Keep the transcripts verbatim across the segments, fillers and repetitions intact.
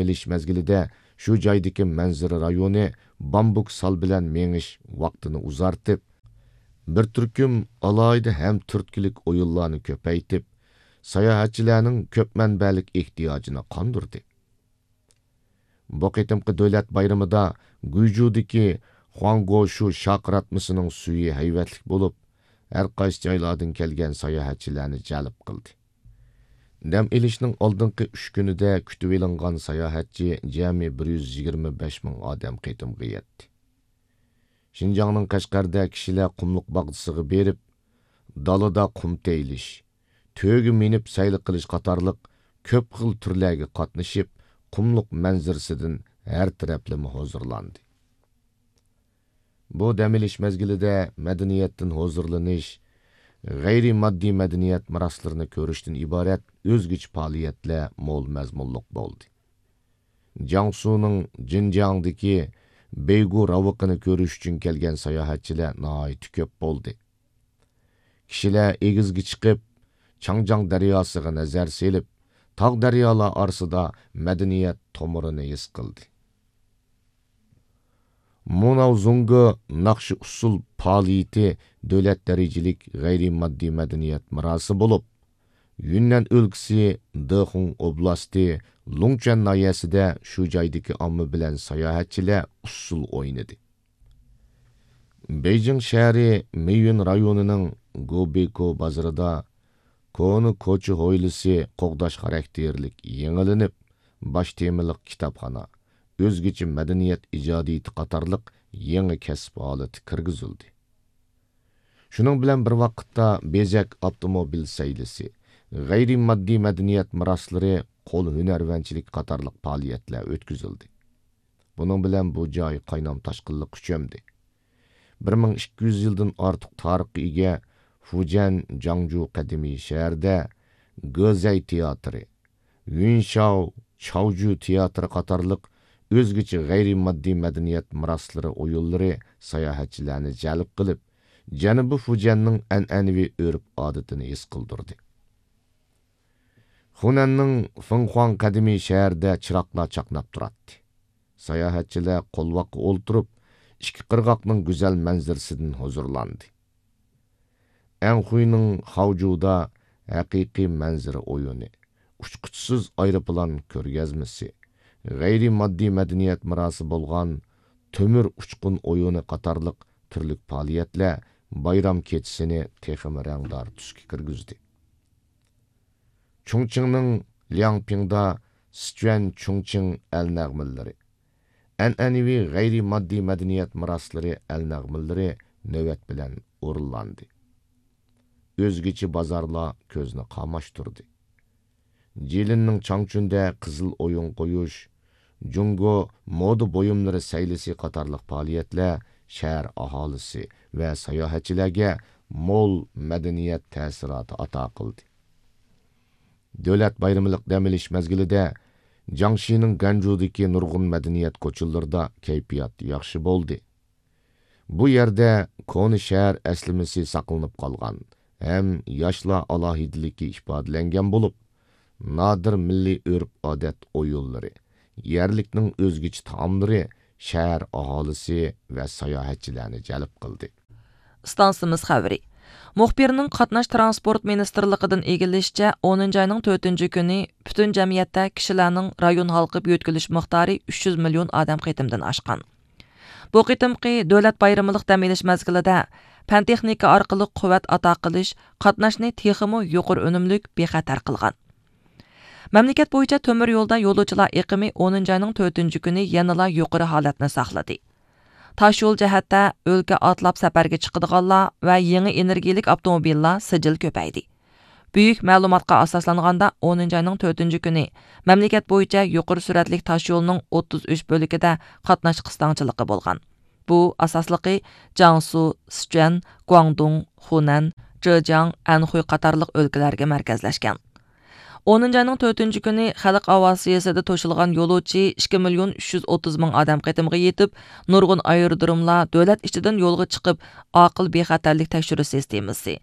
ئېلىش مەزگىلىدە شۇ جايدىكى مەنزىرە رايونى بامبۇك سال بىلەن مېڭىش ۋاقتىنى ئۇزارتىپ، بىر تۈركۈم ئالاھىدە ھەم تۈرتكىلىك ئويۇنلارنى كۆپەيتىپ، ساياھەتچىلەرنىڭ كۆپ مەنبەلىك ئېھتىياجىنى قاندۇردى. بۇ قېتىمقى دۆلەت بايرىمىدا گۇيجۇدىكى خۇاڭگوشۇ شاقىراتمىسىنىڭ سۈيى ھەيۋەتلىك بولۇپ، ھەر قايسى جايلاردىن كەلگەن ساياھەتچىلەرنى جەلپ قىلدى. دەم ئېلىشنىڭ ئالدىنقى ئۈچ كۈنىدە كۈتۈۋېلىنغان ساياھەتچى جەمئىي بىر يۈز يىگىرمە بەش مىڭ ئادەم قېتىمغا يەتتى. شىنجاڭنىڭ قەشقەردە كىشىلەر قۇملۇق باغچىسىغا بېرىپ، دالىدا قۇم تېيىلىش، تۆگە مىنىپ سەيلە قىلىش قاتارلىق كۆپ خىل تۈرلەرگە قاتنىشىپ، قۇملۇق مەنزىرىسىدىن ھەر تەرەپلىمە ھۇزۇرلاندى. بۇ دەم ئېلىش مەزگىلىدە مەدەنىيەتتىن ھۇزۇرلىنىش، غەيرىي ماددىي مەدەنىيەت مىراسلىرىنى كۆرۈشتىن ئىبارەت ئۆزگىچە پائالىيەتلەر مول مەزمۇنلۇق بولدى. جياڭسۇنىڭ جىنجياڭدىكى بەيگۇ راۋىقىنى كۆرۈش ئۈچۈن كەلگەن ساياھەتچىلەر ناھايىتى كۆپ بولدى. كىشىلەر ئېگىزگە چىقىپ، چاڭجياڭ دەرياسىغا نەزەر سېلىپ، تاغ دەريالار ئارىسىدا مەدەنىيەت تومۇرىنى ھېس قىلدى. مۇناۋ زۇڭگې ناخشا ئۇسسۇل پائالىيىتى دۆلەت دەرىجىلىك غەيرىي ماددىي مەدەنىيەت مىراسى بولۇپ، يۈننەن ئۆلكىسى دېخۇڭ ئوبلاستى لۇڭچۈەن ناھىيەسىدە شۇ جايدىكى ئامما بىلەن ساياھەتچىلەر ئۇسسۇل ئوينىدى. بېيجىڭ شەھىرى مېيۈن رايونىنىڭ گوبېكو بازىرىدا كونا كوچا ھويلىسى قوغداش خاراكتېرلىك يېڭىلىنىپ، باش تېمىلىق كىتابخانا، ئۆزگىچە مەدەنىيەت ئىجادىيىتى قاتارلىق يېڭى كەسىپ ھالىتى كىرگۈزۈلدى. شۇنىڭ بىلەن بىر ۋاقىتتا، بېزەك ئاپتوموبىل سەيلىسى، غەيرىي ماددىي مەدەنىيەت مىراسلىرى، قول ھۈنەرۋەنچىلىكى قاتارلىق پائالىيەتلەر ئۆتكۈزۈلدى. بۇنىڭ بىلەن بۇ جاي قاينام تاشقىنلىققا چۆمدى. بىر مىڭ ئىككى يۈز يىلدىن ئارتۇق تارىخقا ئىگە فۇجيەن جاڭجۇ قەدىمىي شەھىرىدە گېزەي تىياتىرى، يۈنشاۋ چاۋجۈ تىياتىرى قاتارلىق ئۆزگىچە غەيرىي ماددىي مەدەنىيەت مىراسلىرى ئويۇنلىرى ساياھەتچىلەرنى جەلپ قىلىپ، جەنۇبىي فۇجيەننىڭ ئەنئەنىۋى ئۆرپ-ئادىتىنى ھېس قىلدۇردى. خۇنەننىڭ فېڭخۇاڭ قەدىمىي شەھىرىدە چىراغلار چاقناپ تۇراتتى. ساياھەتچىلەر قولۋاققا ئولتۇرۇپ، ئىككى قىرغاقنىڭ گۈزەل مەنزىرىسىدىن ھۇزۇرلاندى. ئەنخۇينىڭ خاۋجۇدا ھەقىقىي مەنزىرە ئويۇنى، ئۇچقۇچىسىز ئايروپىلان كۆرگەزمىسى، غەيرىي ماددىي مەدەنىيەت مىراسى بولغان تۆمۈر ئۇچقۇن ئويۇنى قاتارلىق تۈرلۈك پائالىيەتلەر بايرام كېچىسىنى تېخىمۇ رەڭدار تۈسكە كىرگۈزدى. چۇڭچىڭنىڭ لياڭپىڭدا سىچۈەن چۇڭچىڭ ئەل نەغمىلىرى، ئەنئەنىۋى غەيرىي ماددىي مەدەنىيەت مىراسلىرى ئەل نەغمىلىرى نۆۋەت بىلەن ئورۇنلاندى. ئۆزگىچە بازارلار كۆزنى قاماشتۇردى. جىلىننىڭ چاڭچۈندە قىزىل ئويۇن قويۇش، جۇڭگو مودا بۇيۇملىرى سەيلىسى قاتارلىق پائالىيەتلەر شەھەر ئاھالىسى ۋە ساياھەتچىلەرگە مول مەدەنىيەت تەسىراتى ئاتا قىلدى. دۆلەت بايرىملىق دەم ئېلىش مەزگىلىدە جياڭشىنىڭ گەنجۇدىكى نۇرغۇن مەدەنىيەت كوچىلىرىدا كەيپىيات ياخشى بولدى. بۇ يەردە كونا شەھەر ئەسلىمىسى ساقلىنىپ قالغان ھەم ياشلار ئالاھىدىلىكى ئىپادىلەنگەن بولۇپ، نادىر مىللىي ئۆرپ-ئادەت ئويۇنلىرى، يەرلىكنىڭ ئۆزگىچە تائاملىرى شەھەر ئاھالىسى ۋە ساياھەتچىلەرنى جەلپ قىلدى. ئىستانسىمىز خەۋىرى. مۇخبىرنىڭ قاتناش تىرانسپورت مىنىستىرلىقىدىن ئىگىلىشىچە، ئونىنچى ئاينىڭ تۆتىنچى كۈنى پۈتۈن جەمئىيەتتە كىشىلەرنىڭ رايون ھالقىپ يۆتكىلىش مىقدارى ئۈچ يۈز مىليون ئادەم قېتىمدىن ئاشقان. بۇ قېتىمقى دۆلەت بايرىمىلىق دەم ئېلىش مەزگىلىدە پەن تېخنىكا ئارقىلىق قۇۋۋەت ئاتا قىلىش قاتناشنى تېخىمۇ يۇقىرى ئۈنۈملۈك، بىخەتەر قىلغان. مەملىكەت بويىچە تۆمۈر يولدا يولۇچىلار ئېقىمى ئونىنچى ئاينىڭ تۆتىنچى كۈنى يەنىلا يۇقىرى ھالەتنى ساقلىدى. تاشيول جەھەتتە ئۆلكە ئاتلاپ سەپەرگە چىقىدىغانلار ۋە يېڭى ئېنېرگىيەلىك ئاپتوموبىللار سىجىل كۆپەيدى. بۈيۈك مەلۇماتقا ئاساسلانغاندا، ئونىنچى ئاينىڭ تۆتىنچى كۈنى مەملىكەت بويىچە يۇقىرى سۈرئەتلىك تاشيولنىڭ ئوتتۇز ئۈچ بۆلىكىدە قاتناش قىستاڭچىلىقى بولغان. بۇ ئاساسلىقى جياڭسۇ، سىچۈەن، گۇاڭدۇڭ، خۇنەن، جېجياڭ، ئەنخۇي قاتارلىق ئۆلكىلەرگە مەركەزلەشكەن. ئونىنچى ئاينىڭ تۆتىنچى كۈنى خەلق ئاۋىئاتسىيىسىدە توشۇلغان يولۇچى ئىككى مىليون ئۈچ يۈز ئوتتۇز مىڭ ئادەم قېتىمغا يېتىپ، نۇرغۇن ئايرودروملار دۆلەت ئىچىدىن يولغا چىقىپ، ئاقىل بىخەتەرلىك تەكشۈرۈش سىستېمىسى،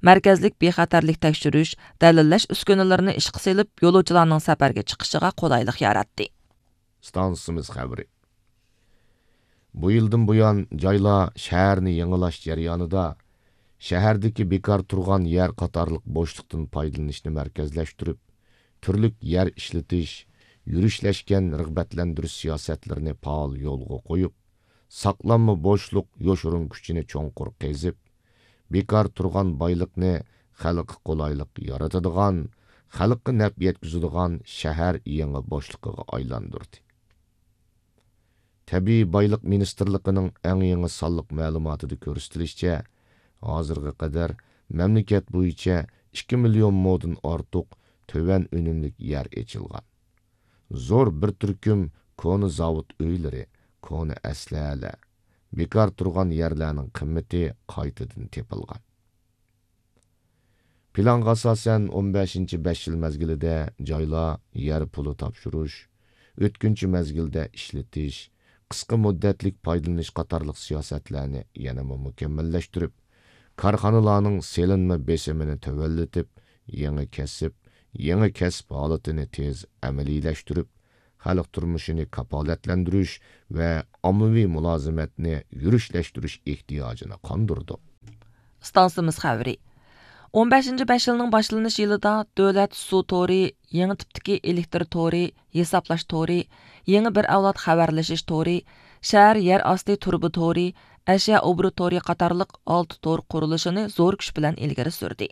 مەركەزلىك بىخەتەرلىك تەكشۈرۈش، دەلىللەش ئۈسكۈنىلىرىنى ئىشقا سېلىپ، يولۇچىلارنىڭ سەپەرگە چىقىشىغا قولايلىق ياراتتى. ئىستانسىمىز خەۋىرى. بۇ يىلدىن بۇيان، جايلار شەھەرنى يېڭىلاش جەريانىدا شەھەردىكى بىكار تۇرغان يەر قاتارلىق بوشلۇقتىن پايدىلىنىشنى مەركەزلەشتۈرۈپ، تۈرلۈك يەر ئىشلىتىش، يۈرۈشلەشكەن رىغبەتلەندۈرۈش سىياسەتلىرىنى پائال يولغا قويۇپ، ساقلانما بوشلۇق يوشۇرۇن كۈچىنى چوڭقۇر قېزىپ، بىكار تۇرغان بايلىقنى خەلققە قولايلىق يارىتىدىغان، خەلققە نەپ يەتكۈزىدىغان شەھەر يېڭى بوشلۇقىغا ئايلاندۇردى. تەبىئىي بايلىق مىنىستىرلىقىنىڭ ئەڭ يېڭى سانلىق مەلۇماتىدا كۆرسىتىلىشىچە، ھازىرغا قەدەر مەملىكەت بويىچە ئىككى مىليون مودىن ئارتۇق تۆۋەن ئۈنۈملۈك يەر ئېچىلغان. زور بىر تۈركۈم كونا زاۋۇت ئۆيلىرى، كونا ئەسلىھەلەر، بىكار تۇرغان يەرلەرنىڭ قىممىتى قايتىدىن تېپىلغان. پىلانغا ئاساسەن، ئون بەشىنچى بەش يىل مەزگىلىدە جايلار يەر پۇلى تاپشۇرۇش، ئۆتكۈنچى مەزگىلدە ئىشلىتىش، قىسقا مۇددەتلىك پايدىلىنىش قاتارلىق سىياسەتلەرنى يەنىمۇ مۇكەممەللەشتۈرۈپ، كارخانىلارنىڭ سېلىنما بېسىمىنى تۆۋەنلىتىپ، يېڭى كەسىپ، يېڭى كەسىپ ھالىتىنى تېز ئەمەلىيلەشتۈرۈپ، خەلق تۇرمۇشىنى كاپالەتلەندۈرۈش ۋە ئاممىۋى مۇلازىمەتنى يۈرۈشلەشتۈرۈش ئېھتىياجىنى قاندۇردۇق. ئىستانسىمىز خەۋىرى. ئون بەشىنچى بەش يىلنىڭ باشلىنىش يىلىدا دۆلەت سۇ تورى، يېڭى تىپتىكى ئېلېكتر تورى، ھېسابلاش تورى، يېڭى بىر ئەۋلاد خەۋەرلىشىش تورى، شەھەر يەر ئاستى تۇرۇبا تورى، ئەشيا ئوبوروت تورى قاتارلىق ئالتە تور قۇرۇلۇشىنى زور كۈچ بىلەن ئىلگىرى سۈردى.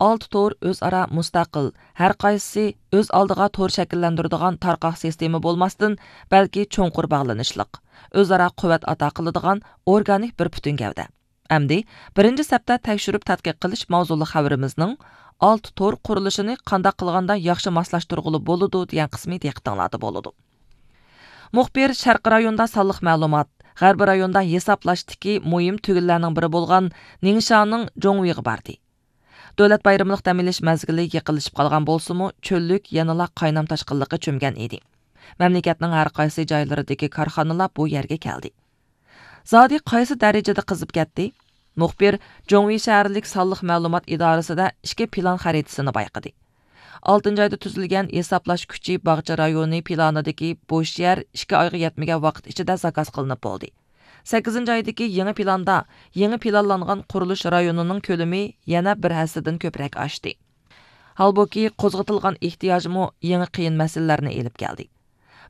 ئالتە تور ئۆزئارا مۇستەقىل، ھەر قايسىسى ئۆز ئالدىغا تور شەكىللەندۈرىدىغان تارقاق سىستېما بولماستىن، بەلكى چوڭقۇر باغلىنىشلىق، ئۆزئارا قۇۋۋەت ئاتا قىلىدىغان ئورگانىك بىر پۈتۈن گەۋدە. ئەمدى بىرىنچى سەپتە تەكشۈرۈپ تەتقىق قىلىش ماۋزۇلۇق خەۋىرىمىزنىڭ «ئالتە تور قۇرۇلۇشىنى قانداق قىلغاندا ياخشى ماسلاشتۇرغىلى بولىدۇ» دېگەن قىسمى دىققىتىڭلاردا بولىدۇ. مۇخبىر شەرقىي رايوندا سانلىق مەلۇمات، غەربىي رايوندا ھېسابلاشتىكى مۇھىم تۈگۈنلەرنىڭ بىرى بولغان نىڭشانىڭ جوڭۋېيغا باردى. دۆلەت بايرىملىق دەم ئېلىش مەزگىلى يېقىنلىشىپ قالغان بولسىمۇ، چۆللۈك يەنىلا قاينام تاشقىنلىققا چۆمگەن ئىدى. مەملىكەتنىڭ ھەر قايسى جايلىرىدىكى كارخانىلار بۇ يەرگە كەلدى. زادى قايسى دەرىجىدە قىزىپ كەتتى؟ مۇخبىر جوڭۋېي شەھەرلىك سانلىق مەلۇمات ئىدارىسىدە ئىككى پىلان خەرىتىسىنى بايقىدى. ئالتىنچى ئايدا تۈزۈلگەن ھېسابلاش كۈچى باغچە رايونى پىلانىدىكى بوش يەر ئىككى ئايغا يەتمىگەن ۋاقىت ئىچىدە زاكاز قىلىنىپ بولدى. سەككىزىنچى ئايدىكى يېڭى پىلاندا يېڭى پىلانلانغان قۇرۇلۇش رايونىنىڭ كۆلىمى يەنە بىر ھەسسىدىن كۆپرەك ئاشتى. ھالبۇكى، قوزغىتىلغان ئېھتىياجمۇ يېڭى قىيىن مەسىلىلەرنى ئېلىپ كەلدى.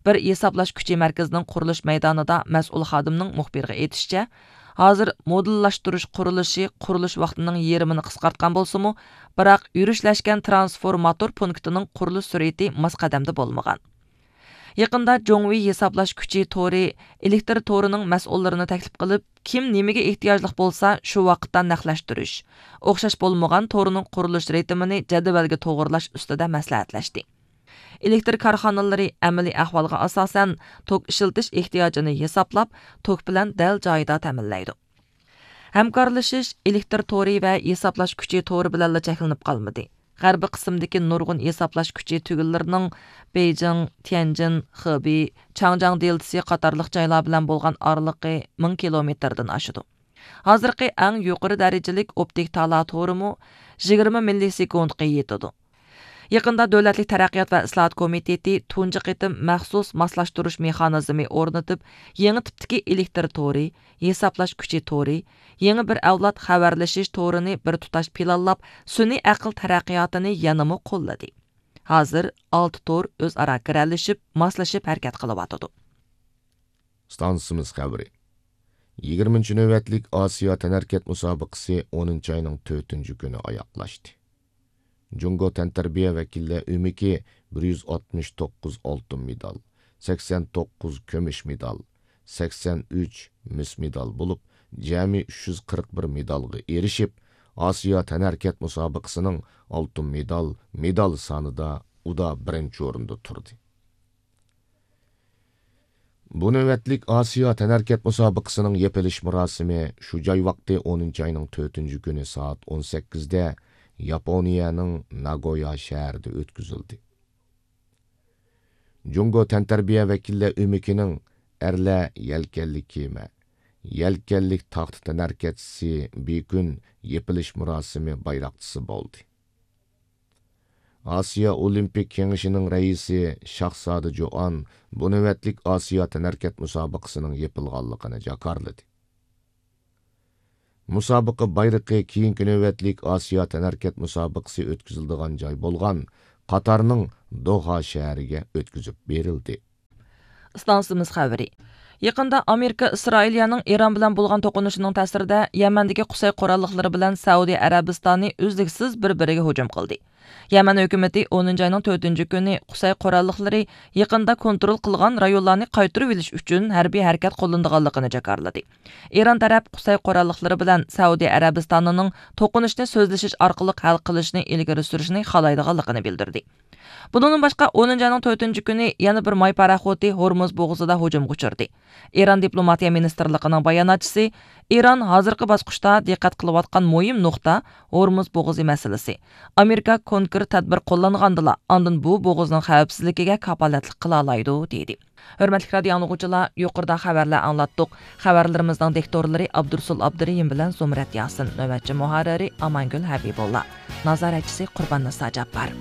بىر ھېسابلاش كۈچى مەركىزىنىڭ قۇرۇلۇش مەيدانىدا مەسئۇل خادىمنىڭ مۇخبىرغا ئېيتىشىچە، ھازىر مودېللاشتۇرۇش قۇرۇلۇشى قۇرۇلۇش ۋاقتىنىڭ يېرىمىنى قىسقارتقان بولسىمۇ، بىراق يۈرۈشلەشكەن ترانسفورماتور پونكىتىنىڭ قۇرۇلۇش سۈرئىتى ماس قەدەمدە بولمىغان. يېقىندا جوڭۋېي ھېسابلاش كۈچى تورى ئېلېكتر تورىنىڭ مەسئۇللىرىنى تەكلىپ قىلىپ، كىم نېمىگە ئېھتىياجلىق بولسا، شۇ ۋاقىتتا نەقلەشتۈرۈش، ئوخشاش بولمىغان تورنىڭ قۇرۇلۇش رىتىمىنى جەدۋەلگە توغرىلاش ئۈستىدە مەسلىھەتلەشتى. ئېلېكتر كارخانىلىرى ئەمەلىي ئەھۋالغا ئاساسەن، توك ئىشلىتىش ئېھتىياجىنى ھېسابلاپ، توك بىلەن دەل جايىدا تەمىنلەيدۇ. ھەمكارلىشىش ئېلېكتر تورى ۋە ھېسابلاش كۈچى تورى بىلەنلا چەكلىنىپ قالمىدى. غەربىي قىسىمدىكى نۇرغۇن ھېسابلاش كۈچى تۈگۈنلىرىنىڭ بېيجىڭ، تيەنجىن، خېبېي، چاڭجياڭ دېلتىسى قاتارلىق جايلار بىلەن بولغان ئارىلىقى مىڭ كىلومېتىردىن ئاشىدۇ. ھازىرقى ئەڭ يۇقىرى دەرىجىلىك ئوپتىك تالا تورىمۇ يىگىرمە مىللىسېكۇنتقا يېتىدۇ. يېقىندا دۆلەتلىك تەرەققىيات ۋە ئىسلاھات كومىتېتى تۇنجى قېتىم مەخسۇس ماسلاشتۇرۇش مېخانىزمى ئورنىتىپ، يېڭى تىپتىكى ئېلېكتر تورى، ھېسابلاش كۈچى تورى، يېڭى بىر ئەۋلاد خەۋەرلىشىش تورىنى بىر تۇتاش پىلانلاپ، سۈنئىي ئەقىل تەرەققىياتىنى يەنىمۇ قوللىدى. ھازىر ئالتە تور ئۆزئارا گىرەلىشىپ، ماسلىشىپ ھەرىكەت قىلىۋاتىدۇ. ئىستانسىمىز خەۋىرى. يىگىرمىنچى نۆۋەتلىك ئاسىيا تەنھەرىكەت مۇسابىقىسى ئونىنچى ئاينىڭ تۆتىنچى كۈنى ئاياغلاشتى. جۇڭگو تەنتەربىيە ۋەكىللەر ئۆمىكى بىر يۈز ئاتمىش توققۇز ئالتۇن مېدال، سەكسەن توققۇز كۈمۈش مېدال، سەكسەن ئۈچ مىس مېدال بولۇپ، جەمئىي ئۈچ يۈز قىرىق بىر مېدالغا ئېرىشىپ، ئاسىيا تەنھەرىكەت مۇسابىقىسىنىڭ ئالتۇن مېدال، مېدال سانىدا ئۇدا بىرىنچى ئورۇندا تۇردى. بۇ نۆۋەتلىك ئاسىيا تەنھەرىكەت مۇسابىقىسىنىڭ يېپىلىش مۇراسىمى شۇ جاي ۋاقتى ئونىنچى ئاينىڭ تۆتىنچى كۈنى سائەت ئون سەككىزدە ياپونىيەنىڭ ناگويا شەھىرىدە ئۆتكۈزۈلدى. جۇڭگو تەنتەربىيە ۋەكىللەر ئۆمىكىنىڭ ئەرلەر يەلكەنلىك كېمە، يەلكەنلىك تاختا تەنھەرىكەتچىسى بىكۈن يېپىلىش مۇراسىمى بايراقچىسى بولدى. ئاسىيا ئولىمپىك كېڭىشىنىڭ رەئىسى شاھزادە جوئان بۇ نۆۋەتلىك ئاسىيا تەنھەرىكەت مۇسابىقىسىنىڭ يېپىلغانلىقىنى جاكارلىدى. مۇسابىقە بايرىقى كېيىنكى نۆۋەتلىك ئاسىيا تەنھەرىكەت مۇسابىقىسى ئۆتكۈزۈلىدىغان جاي بولغان قاتارنىڭ دوھا شەھىرىگە ئۆتكۈزۈپ بېرىلدى. ئىستانسىمىز خەۋىرى. يېقىندا ئامېرىكا ئىسرائىلىيەنىڭ ئىران بىلەن بولغان توقۇنۇشىنىڭ تەسىرىدە يەمەندىكى قۇسەي قوراللىقلىرى بىلەن سەئۇدى ئەرەبىستانى ئۈزلۈكسىز بىر-بىرىگە ھۇجۇم قىلدى. يەمەن ھۆكۈمىتى ئونىنچى ئاينىڭ تۆتىنچى كۈنى قۇسەي قوراللىقلىرى يېقىندا كونترول قىلغان رايونلارنى قايتۇرۇۋېلىش ئۈچۈن ھەربىي ھەرىكەت قوللىنىدىغانلىقىنى جاكارلىدى. ئىران تەرەپ قۇسەي قوراللىقلىرى بىلەن سەئۇدى ئەرەبىستانىنىڭ توقۇنۇشنى سۆزلىشىش ئارقىلىق ھەل قىلىشنى ئىلگىرى سۈرۈشنى خالايدىغانلىقىنى بىلدۈردى. بۇنىڭدىن باشقا، ئونىنچى ئاينىڭ تۆتىنچى كۈنى يەنە بىر ماي پاراخوتى ھورمۇز بوغۇزىدا ھۇجۇمغا ئۇچرىدى. ئىران دىپلوماتىيە مىنىستىرلىقىنىڭ باياناتچىسى ئىران ھازىرقى باسقۇچتا دىققەت قىلىۋاتقان مۇھىم نۇقتا ھورمۇز بوغۇزى مەسىلىسى. ئامېرىكا كونكرېت تەدبىر قوللانغاندىلا، ئاندىن بۇ بوغۇزنىڭ خەۋپسىزلىكىگە كاپالەتلىك قىلالايدۇ، دېدى. ھۆرمەتلىك رادىيو ئاڭلىغۇچىلار، يۇقىرىدا خەۋەرلەر ئاڭلاتتۇق. خەۋەرلىرىمىزنىڭ دىكتورلىرى ئابدۇرۇسۇل ئابدۇرېھىم بىلەن زۇمرەت ياسىن، نۆۋەتچى مۇھەررىرى ئامانگۈل ھەبىبۇللا، نازارەتچىسى قۇرباننىسا جاپپار.